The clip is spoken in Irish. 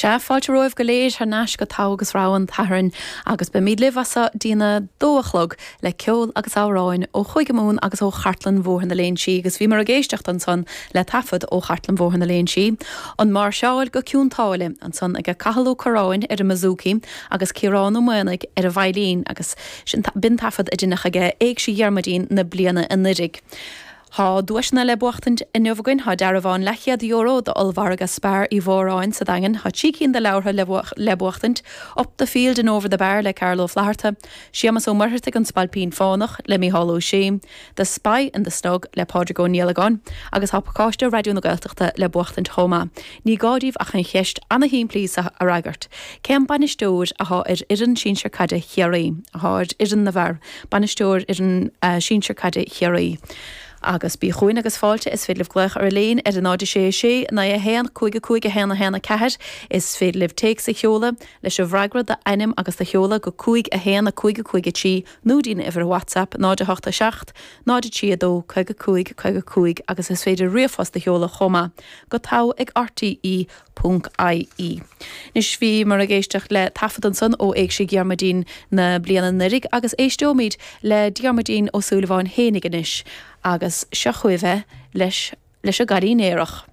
Sea, fáilte romhaibh go léir thar n-ais go Togha agus Rogha an tSathairn agus beimid libh as so dtína dó a chlog le ceol agus amhráin ó Chúige Mumhan agus ó Chartlann Bhóthar na Léinsí agus bhíomar ag éisteacht ansan le taifead ó Chartlann Bhóthar na Léinsí, An Máirseáil go Cionn tSáile, ansan aige Cathal Ó Curráin ar an mbouzouki agus Ciarán Ó Maonaigh ar an veidhlín agus sin b'in taifead a deineadh aige Éigse Dhiarmuidín na bliana anuiridh. Tá duaiseanna le buachtaint inniu againn. Tá dearbhán leathchéad euro d'ollmhargadh Spar Uí Mhóráin sa Daingean. Tá 3 cinn de leabhartha le buachtaint, Up the Field and Over the Bar le Carl Ó Flaithearta, Séamas Ó Muircheartaigh An Spailpín Fánach le Mícheál Ó Sé, The Spy in the Snug le Pádraig Ó Niallagáin agus tá pacáiste Raidió na Gaeltachta le buachtaint chomh maith. Ní gá daoibh ach an cheist ana-shimplí seo a fhreagairt. Cén bainisteoir atá ar fhoireann sinsir caide Chiarraí? Atá ar fhoireann na bhfear. Bainisteoir fhoireann sinsir caide Chiarraí. Agus bí chugainn agus fáilte, is féidir libh glaoch ar Elaine ar 0 6 6 9 1 5 5 1 1 4. Is féidir libh téacs a sheoladh leis an bhfreagra, d'ainm agus do sheoladh go 5 1 5 5 3 nó dtína uimhir WhatsApp 0 8 7 0 3 2 55 55 agus is féidir ríomhphost a sheoladh chomh maith go togha ag rte ponc ie. Anois bhíomar ag éisteacht le taifead ansan ó Éigse Dhiarmuidín na bliana anuiridh agus éisteoimid le Diarmuidín Ó Súilleabháin fhéinig anois agus seo chugaibh é leis leis an gCailín Aerach.